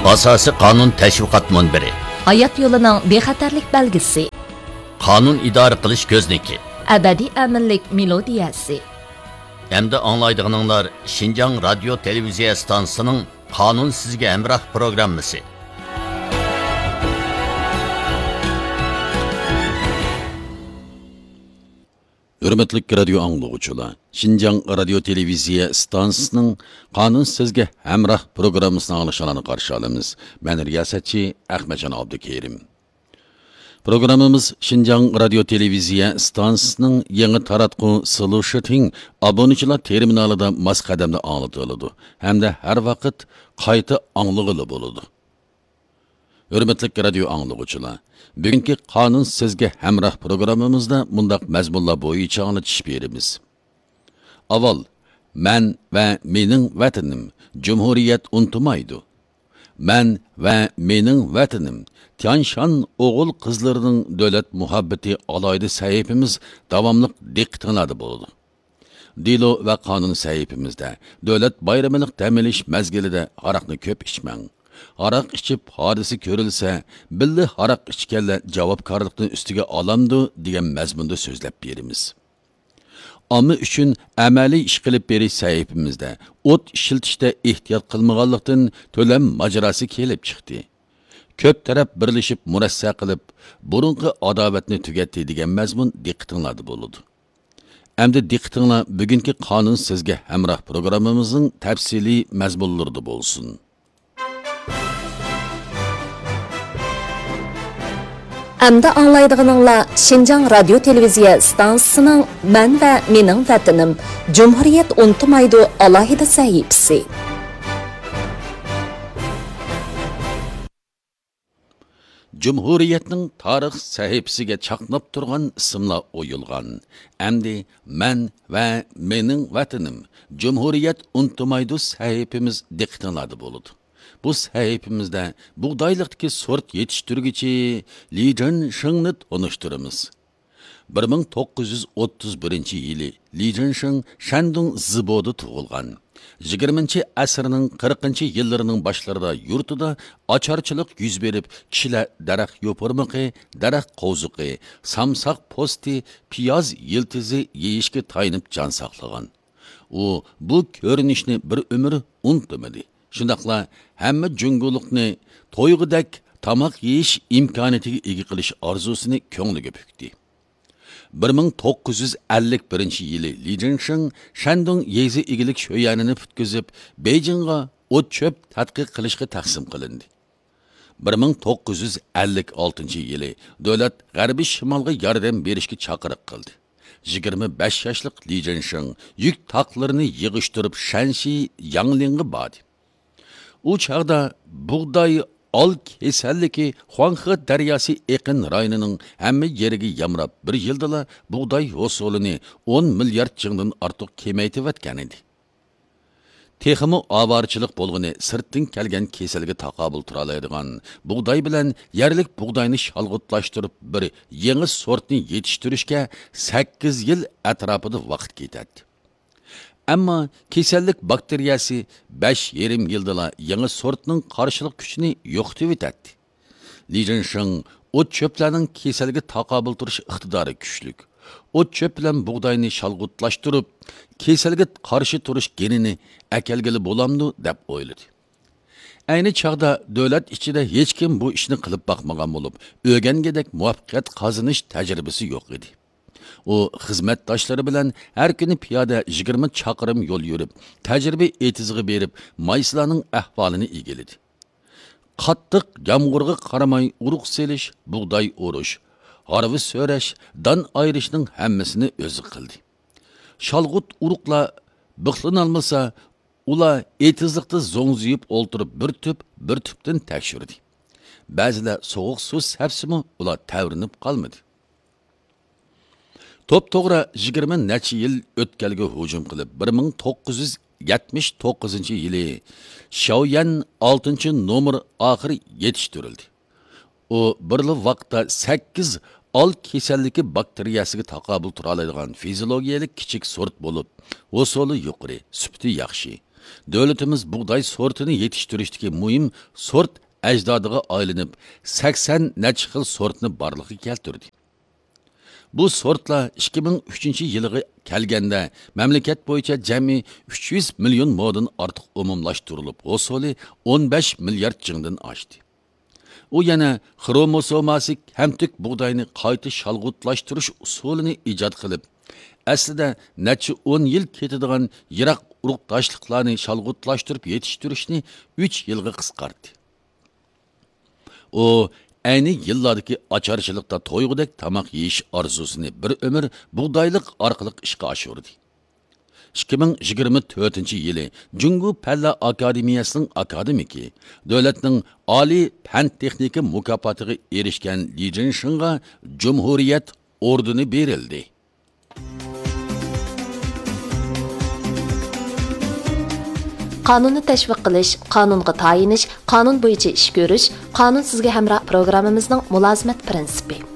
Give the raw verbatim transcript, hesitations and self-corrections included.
ئاساسىي قانۇن تەشۋىقات مۇنبىرى. ھايات يولىنىڭ بىخەتەرلىك بەلگىسى. قانۇن ئىدارە قىلىش كۆزنىكى. ئەبەدىي ئەمىنلىك مېلودىيەسى. ئەمدى ئاڭلايدىغىنىڭلار شىنجاڭ رادىيو تېلېۋىزىيە ئىستانسىسىنىڭ قانۇن سىزگە ھەمراھ پروگراممىسى. ھۆرمەتلىك رادىيو ئاڭلىغۇچىلار، شىنجاڭ رادىيو تېلېۋىزىيە ئىستانسىسىنىڭ قانۇن سىزگە ھەمراھ پروگراممىسىنى ئاڭلىشىڭلارنى قارشى ئالىمىز. مەن رىياسەتچى ئەخمەتجان ئابدۇكېرىم. پروگراممىمىز شىنجاڭ رادىيو تېلېۋىزىيە ئىستانسىسىنىڭ يېڭى تاراتقۇ سلۇشىتىڭ ئابۇنىچىلار تېرمىنالىدا ماس قەدەمدە ئاڭلىتىلىدۇ ھەمدە ھەر ۋاقىت قايتا ئاڭلىغىلى بولىدۇ. ھۆرمەتلىك رادىيو ئاڭلىغۇچىلار، بۈگۈنكى قانۇن سىزگە ھەمراھ پروگراممىمىزدا مۇنداق مەزمۇنلار بويىچە ئاڭلىتىش بېرىمىز. ئاۋۋال، مەن ۋە مېنىڭ ۋەتىنىم، جۇمھۇرىيەت ئۇنتۇمايدۇ. مەن ۋە مېنىڭ ۋەتىنىم، تيانشان ئوغۇل قىزلىرىنىڭ دۆلەت مۇھەببىتى ئالاھىدە سەھىپىمىز داۋاملىق دىققىتىڭلاردا بولىدۇ. دېلو ۋە قانۇن سەھىپىمىزدە دۆلەت بايرىمىلىق دەم ئېلىش مەزگىلىدە ھاراقنى كۆپ ئىچمەڭ. ھاراق ئىچىپ ھادىسە كۆرۈلسە، بىللە ھاراق ئىچكەنلەر جاۋابكارلىقنى ئۈستىگە ئالامدۇ دېگەن مەزمۇندا سۆزلەپ بېرىمىز. ئامما ئۈچۈن ئەمەلىي ئىش قىلىپ بېرىش سەھىپىمىزدە ئوت ئىشلىتىشتە ئېھتىيات قىلمىغانلىقتىن تۆلەم ماجىراسى كېلىپ چىقتى. كۆپ تەرەپ بىرلىشىپ مۇرەسسە قىلىپ، بۇرۇنقى ئاداۋەتنى تۈگەتتى دېگەن مەزمۇن دىققىتىڭلاردا بولىدۇ. ئەمدى دىققىتىڭلار بۈگۈنكى قانۇن سىزگە ھەمراھ پروگراممىمىزنىڭ تەپسىلىي مەزمۇنلىرىدا بولسۇن. ئەمدى ئاڭلايدىغىنىڭلار شىنجاڭ رادىيو تېلېۋىزىيە ئىستانسىسىنىڭ مەن ۋە مېنىڭ ۋەتىنىم، جۇمھۇرىيەت ئۇنتۇمايدۇ ئالاھىدە سەھىپىسى. جۇمھۇرىيەتنىڭ تارىخ سەھىپىسىگە چاقناپ تۇرغان ئىسىملار ئويۇلغان. ئەمدى مەن ۋە مېنىڭ ۋەتىنىم، جۇمھۇرىيەت ئۇنتۇمايدۇ سەھىپىمىز دىققىتىڭلاردا بولىدۇ. بۇ سەھىپىمىزدە بۇغدايلىقتىكى سورت يېتىشتۈرگۈچى لى جىنشېڭنى تونۇشتۇرىمىز. بىر مىڭ توققۇز يۈز ئوتتۇز بىرىنچى يىلى لى جىنشېڭ شەندۇڭ زىبودا تۇغۇلغان. يىگىرمىنچى ئەسىرنىڭ قىرىقىنچى يىللىرىنىڭ باشلىرىدا يۇرتىدا ئاچارچىلىق يۈز بېرىپ، كىشىلەر دەرەخ يوپۇرمىقى، دەرەخ قوۋزۇقى، سامساق پوستى، پىياز يىلتىزى يېيىشكە تايىنىپ جان ساقلىغان. ئۇ بۇ كۆرۈنۈشنى بىر ئۆمۈر ئۇنتۇمىدى. شۇنداقلا ھەممە جۇڭگولۇقنى تويغۇدەك تاماق يېيىش ئىمكانىيىتىگە ئىگە قىلىش ئارزۇسىنى كۆڭلىگە پۈكتى. بىر مىڭ توققۇز يۈز ئەللىك بىرىنچى يىلى لى جىنشېڭ شەندۇڭ يېزا ئىگىلىك شۆيەنىنى پۈتكۈزۈپ، بېيجىڭغا ئوت-چۆپ تەتقىق قىلىشقا تەقسىم قىلىندى. بىر مىڭ توققۇز يۈز ئەللىك ئالتىنچى يىلى دۆلەت غەربىي شىمالغا ياردەم بېرىشكە چاقىرىق قىلدى. يىگىرمە بەش ياشلىق لى جىنشېڭ يۈك تاقلىرىنى يىغىشتۇرۇپ، شەنشى ياڭلىڭغا باردى. ئۇ چاغدا بۇغداي ئال كېسەللىكى خۇاڭخې دەرياسى ئېقىن رايونىنىڭ ھەممە يېرىگە يامراپ، بىر يىلدىلا بۇغداي ھوسۇلىنى ئون مىليارد جىڭدىن ئارتۇق كېمەيتىۋەتكەنىدى. تېخىمۇ ئاۋارىچىلىق بولغىنى سىرتتىن كەلگەن كېسەلگە تاقابىل تۇرالايدىغان بۇغداي بىلەن يەرلىك بۇغداينى شالغۇتلاشتۇرۇپ، بىر يېڭى سورتنى يېتىشتۈرۈشكە سەككىز يىل ئەتراپىدا ۋاقىت كېتەتتى. ئەمما كېسەللىك باكتېرىيەسى بەش يېرىم يىلدىلا يېڭى سورتنىڭ قارشىلىق كۈچىنى يوقىتىۋېتەتتى. لى جىنشېڭ ئوت-چۆپلەرنىڭ كېسەلگە تاقابىل تۇرۇش ئىقتىدارى كۈچلۈك. ئوت-چۆپ بىلەن بۇغداينى شالغۇتلاشتۇرۇپ، كېسەلگە قارشى تۇرۇش گېنىنى ئەكەلگىلى بولامدۇ، دەپ ئويلىدى. ئەينى چاغدا دۆلەت ئىچىدە ھېچكىم بۇ ئىشنى قىلىپ باقمىغان بولۇپ، ئۆگەنگۈدەك مۇۋەپپەقىيەت قازىنىش تەجرىبىسى يوق ئىدى. ئۇ خىزمەتداشلىرى بىلەن ھەر كۈنى پىيادە يىگىرمە چاقىرىم يول يۈرۈپ، تەجرىبە ئېتىزىغا بېرىپ، مايسىلارنىڭ ئەھۋالىنى ئىگىلىدى. قاتتىق يامغۇرغا قارىماي ئۇرۇق سېلىش، بۇغداي ئورۇش، ھارۋا سۆرەش، دان ئايرىشنىڭ ھەممىسىنى ئۆزى قىلدى. شالغۇت ئۇرۇقلار بىخلىنالمىسا، ئۇلار ئېتىزلىقتا زوڭزىيىپ ئولتۇرۇپ، بىر تۈپ، بىر تۈپتىن تەكشۈردى. بەزىلەر سوغۇق سۇ سەپسىمۇ، ئۇلار تەۋرىنىپ قالمىدى. توپتوغرا يىگىرمە نەچچە يىل ئۆتكەلگە ھۇجۇم قىلىپ، بىر مىڭ توققۇز يۈز يەتمىش توققۇزىنچى يىلى شياۋيەن ئالتىنچى نومۇر ئاخىرى يېتىشتۈرۈلدى. ئۇ بىرلا ۋاقىتتا سەككىز ئال كېسەللىكى باكتېرىيەسىگە تاقابىل تۇرالايدىغان فىزىولوگىيەلىك كىچىك سورت بولۇپ، ھوسۇلى يۇقىرى، سۈپىتى ياخشى. دۆلىتىمىز بۇغداي سورتىنى يېتىشتۈرۈشتىكى مۇھىم سورت ئەجدادىغا ئايلىنىپ، سەكسەن نەچچە خىل سورتنى بارلىققا كەلتۈردى. بۇ سورتلار ئىككى مىڭ ئۈچىنچى يىلىغا كەلگەندە، مەملىكەت بويىچە جەمئىي ئۈچ يۈز مىليون مودىن ئارتۇق ئومۇملاشتۇرۇلۇپ، ھوسۇلى ئون بەش مىليارد جىڭدىن ئاشتى. ئۇ يەنە خروموسوماسى كەمتۈك بۇغداينى قايتا شالغۇتلاشتۇرۇش ئۇسۇلىنى ئىجاد قىلىپ، ئەسلىدە نەچچە ئون يىل كېتىدىغان يىراق ئۇرۇقداشلىقلارنى شالغۇتلاشتۇرۇپ يېتىشتۈرۈشنى ئۈچ يىلغا قىسقارتتى. ئۇ ئەينى يىللاردىكى ئاچارچىلىقتا تويغۇدەك تاماق يېيىش ئارزۇسىنى بىر ئۆمۈر بۇغدايلىق ئارقىلىق ئىشقا ئاشۇردى. ئىككى مىڭ يىگىرمە تۆتىنچى يىلى جۇڭگو پەنلەر ئاكادېمىيەسىنىڭ ئاكادېمىكى، دۆلەتنىڭ ئالىي پەن تېخنىكا مۇكاپاتىغا ئېرىشكەن لى جىنشىڭغا جۇمھۇرىيەت ئوردېنى بېرىلدى. قانۇننى تەشۋىق قىلىش، قانۇنغا تايىنىش، قانۇن بويىچە ئىش كۆرۈش، قانۇن سىزگە ھەمراھ پروگراممىمىزنىڭ مۇلازىمەت پىرىنسىپى.